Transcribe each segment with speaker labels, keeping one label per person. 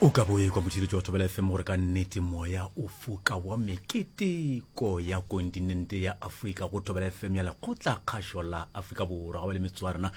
Speaker 1: O ka bo ekwa motšheletši wa Thobela FM gore ka nnete moya o foka wa meketeko ya kontinente ya Afrika go Thobela FM ya lekgotla kgašo la Afrika Borwa. Ga ba le metsotso ya rena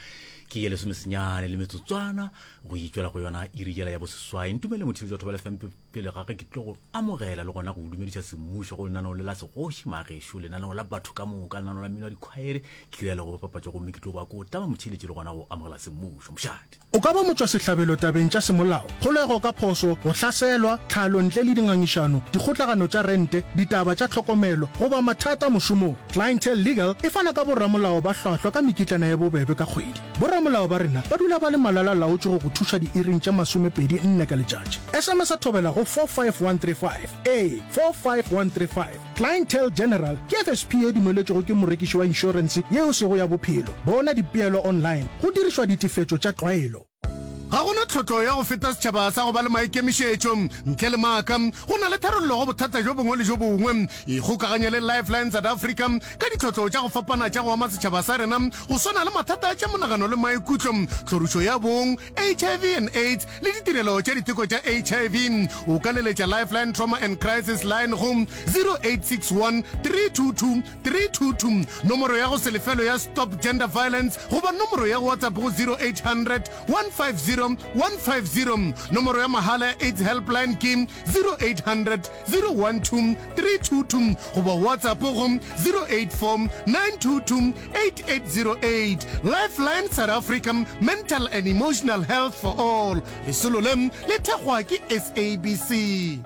Speaker 1: ke ye lesomesenyane le metsotswana go itšwela go yona iri yela ya boseswai. Ntumele motšheletši wa Thobela FM pele ga ge ke tlo go amogela le gona go dumediša semmušo go lenaneo le la segoši magešo, lenaneo la batho ka moka, lenaneo la mmino wa dikhwaere, ke ria le go bapatša gomme ke tlo ba ko tama motšheletši le gona go amogela semmušo. Mošate.
Speaker 2: O ka ba motšwasehlabelo tabeng tša semolao, kgolego ka phoso, go hlaselwa, tlhalo ntle le dingangišano, dikgotlagano tša rente, ditaba tša tlhokomelo, goba mathata mošomong. Clientele Legal e fana ka boramolao ba hlwahlwa ka mekitlana ye bobebe ka kgwedi. Boramolao ba rena ba dula ba le malala-laotšwe go go thuša diiring tše 24 ka letšatši. SMS-a thobela go 45135. Ee, 45135. Clientele General ke FSP ye dumeletšwego ke morekiši wa inšorense ye e sego ya bophelo. Bona dipeelo online go dirišwa ditefetšo tša tlwaelo.
Speaker 3: Ga go na tlhotlo ya go feta setšhaba sa go ba le maikemišetšo. Ntle le maaka, go na le tharollo go bothata bjo bongwe le bjo bongwe. Ikgokaganye le Lifeline South Africa ka ditlhotlo tša go fapana tša go ama setšhaba sa rena, go swana le mathata a tša monagano le maikutlo, tlhorišo ya bong, HIV and AIDS le ditirelo tša diteko tša HIV. O ka leletša Lifeline Trauma and Crisis Line go 0861 322 322, nomoro ya go se lefelwe ya Stop Gender Violence goba nomoro ya WhatsApp go 0800 150 150. Nomoro ya mahala ya AIDS Helpline ke 0800 012 322 goba WhatsApp go 084 922 8808. Lifeline South Africa, Mental and Emotional Health for All. Lesolo le le thekgwa ke SABC.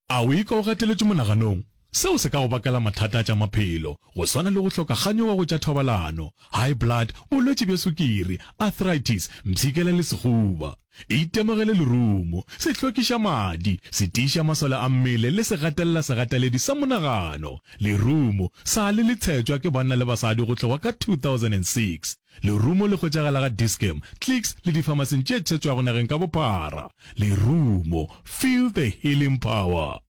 Speaker 4: A o ikwa o gateletšwe monaganong? Seo se ka go bakela mathata a tša maphelo, go swana le go hloka kganyogo go tša thobalano, high blood, bolwetši bja sukiri, arthritis, mpshikela le sehuba. Itemogele lerumo, se hlwekiša madi, se tiiša masole a mmele le se gatelela segateledi sa monagano. Lerumo sa le le tshetšwa ke banna le basadi go tloga ka 2006. Lerumo le hwetšagala ga Dis-Chem, Clicks le difamasing tše tshetšwago nageng ka bophara. Lerumo, feel the healing power.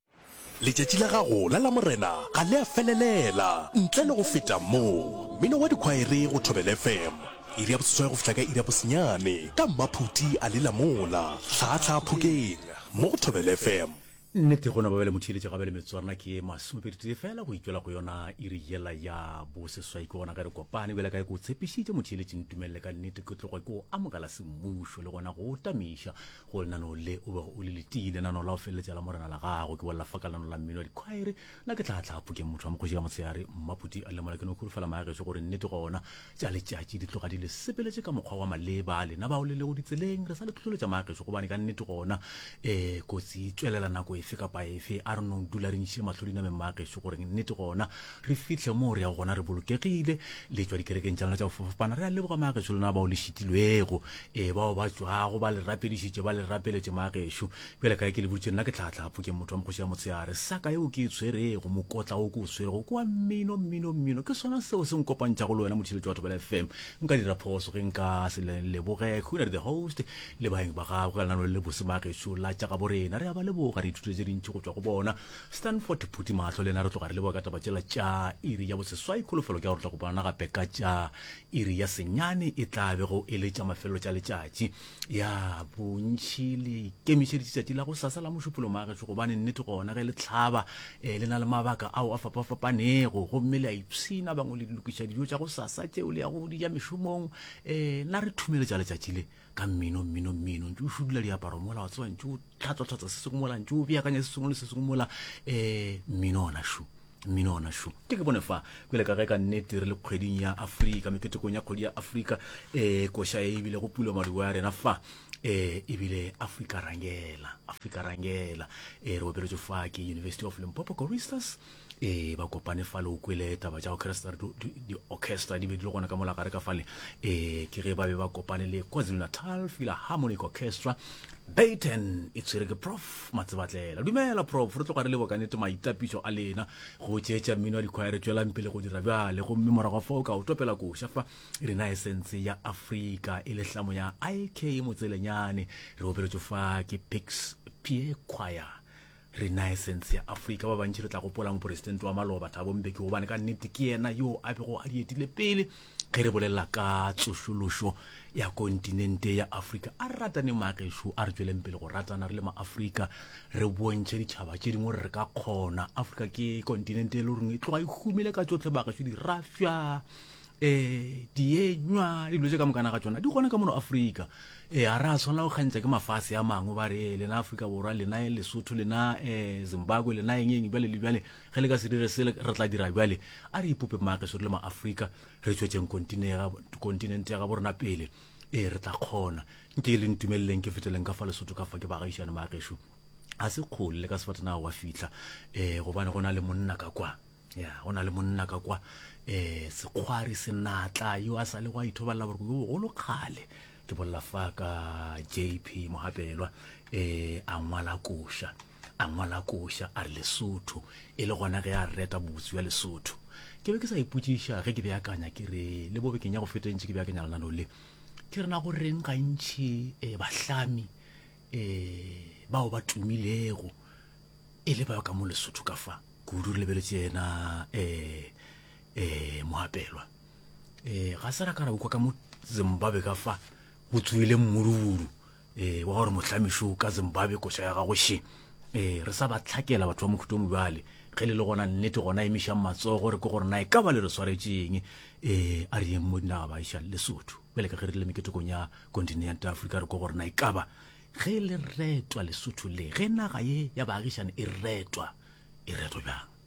Speaker 5: Letšatši la gago la Lamorena ga le a felelela ntle le go feta mo. Mmino wa dikhwaere go Thobela FM, iri ya boseswai go fihla ka iri ya bosenyane, ka Mmaphuti a le Lamola, Hlaahlaa Phokeng, mo go Thobela FM.
Speaker 1: Nnete go no ba bjale motheeletši ga bjale metswarna ke ye masomepeditee fela go itšwela go yona iri yela ya boseswai ke gona ge re kopane bjale ka ge ke o tshepišitše motheeletši ntumelele ka nnete ke tloge ke o amogela semmušo le gona go o tamiša Go lenaneo le o bego o le letile, lenaneo la go feleletša la Morena la gago, ke bolela fa ka lenaneo la mmino wa dikhwaere. Nna ke tla tla phokeng motho wa mokgoši ka motshehare, Mmaphuti a lemola. Ke no holofela maagešo gore nnete gona tša letšatši di tloga di le sepeletše ka mokgwa wa maleba. Lena bao le lego ditseleng, re sa le hlohleletša maagešo gobane ka nnete gona um kotsi e tšwelela nako efe kapa efe. A re no dula re ntšhile mahlo dinameng maagešo gore nnete gona re fihle moo re yago gona re bolokegile. Le tšwa dikerekeng tša lena tša go fapafapana, re a leboga maagešo lena bao le šitilwego. Ee, bao ba tšwago ba le rapedišitše, ba le rapeletše, magešo. Bjale ka ge ke le boditše, nna ke tlhaatlhaapo, ke motho wa mokgoši ya motshehare. Saka yeo ke e tshwerego, mokotla wo ke o swerego, ke wa mmino, mmino, mmino. Ke sona seo se nkopantšhago le wena, motheeletši wa Thobela FM. Nka dira phoso ge nka se le leboge. Khunadi the host le baeng ba gagwe ka lenaneo le le bose, magešo, la tša gabo rena. Re a ba leboga, re ithutile tše dintši go tšwa go bona. Stanford Phuti Mahlo le yena re tloga re leboga ka taba tšela tša iri ya boseswai. Kholofelo ke ya gore re tla kopana gape ka tša Iri ya senyane e tla bego e le tša mafelelo tša letšatši. Ya, bontši le ikemišeditše tšatši la gosasa la Mošupologo magešo, gobane nnete gona ge le hlaba eh, le na le mabaka ao a fapafapanego, gomme le a ipshina, bangwe le lokiša dijo tša gosasa tšeo le yago go di ja mešomong. Eh, na re thumeletša letšatši le ka mmino, mmino, mmino, ntše o šudula diaparo mola, wa tseba, ntše o tlhatswa-tlhatswa se sengwe mola, ntše o beakanya se sengwe le se sengwe mola, eh, mmino ona šo. Mmino ona šo. Ke ke bone fa, bjale ka ge ka nnete re le kgweding ya Afrika, meketekong ya kgwedi ya Afrika, eh, koša e ebile go pula maduo ya rena fa, eh, ebile Afrika Rangela, Afrika Rangela, eh, re opeletšwe fa ke University of Limpopo Choristers, eh, ba kopane fa le o kwele taba tša orchestra, di-orchestra di be di le gona ka mola gare ka fale, eh, ke ge ba be ba kopane le KwaZulu-Natal Philharmonic Orchestra, Baton e tshwere ke Prof Matsebatlela. Dumela Prof, re tloga re leboga ka nnete maitapišo a lena go tšeetša mmino wa dikhwaere. Tšwelang pele go dira bjale, gomme morago ga fao ka o topela koša fa Renaissance ya Afrika e le hlamo ya IK Motselenyane. Re opeletšwe fa ke Pix Pie Choir. Renaissance ya Afrika. Ba bantši re tla gopola moporesidente wa maloba Thabo Mbeki, gobane ka nnete ke yena yo a bego a di etile pele. Ge re bolela ka tsošološo ya kontinente ya Afrika, a re rataneng maagešo, a re tšweleng pele go ratana re le maAfrika, re bontšhe ditšhaba tše dingwe gore re ka kgona. Afrika ke kontinente e le goreng e tloga e humile ka tšohle maagešo, dirafša, um dienywa, dilo tše ka mokana ga tšona di gona ka mono Afrika. Ee, ga re a swanela go kgantšha ke mafase a mangwe ba re lena Afrika Borwa, lena Lesotho, lena um Zimbabwe, lena eng eng bjale le bjale, ge le ka se dire se re tla dira bjale. A re ipope maagešo re le maAfrika, re tšwetšeng kontinente ya gabo rena pele. Ee, re tla kgona. Nke le ntumeleleng ke feteleng ka fa Lesotho ka fa ke baagišane maagešo. Ga se kgole le ka sefatanaga wa fihla, um gobane go na le monna ka kwa. Ya, go na le monna ka kwa, um sekgwari senatla yo a sa le go a ithobalela boroko bjo bogolo kgale. Ke bolela fa ka JP Mohapelwa, um a ngwala koša, a ngwala koša a re Lesotho, e le gona ge a reta bobotse bja Lesotho. Ke be ke sa ipotšiša ge ke beakanya ke re le bo bekeng ya go feta ntše ke beakanya lenaneo le, ke re na go reng gantši um bahlami um bao ba tumilego e le ba ka mo Lesotho ka fa, kudu re lebeletše yena um um Mohapelwa. Um ga se ra ka ra ukwa ka mo Zimbabwe ka fa go tsoile mmuruburu um wa gore mohlamišo ka Zimbabwe koša ya gago še. Um re sa ba tlhakela batho ba mohuta o mobjale. Ge le le gona nnete gona emišang matsogo re ke gore na e ka ba le re swaretšeng. Um a re yeng mo dinaga ba iša Lesotho. Bjale ka ge re le meketekong ya kontinente ya Afrika re ke gore na e ka ba ge le retwa Lesotho le ge naga ye ya baagišane e retwa e retwa bjang.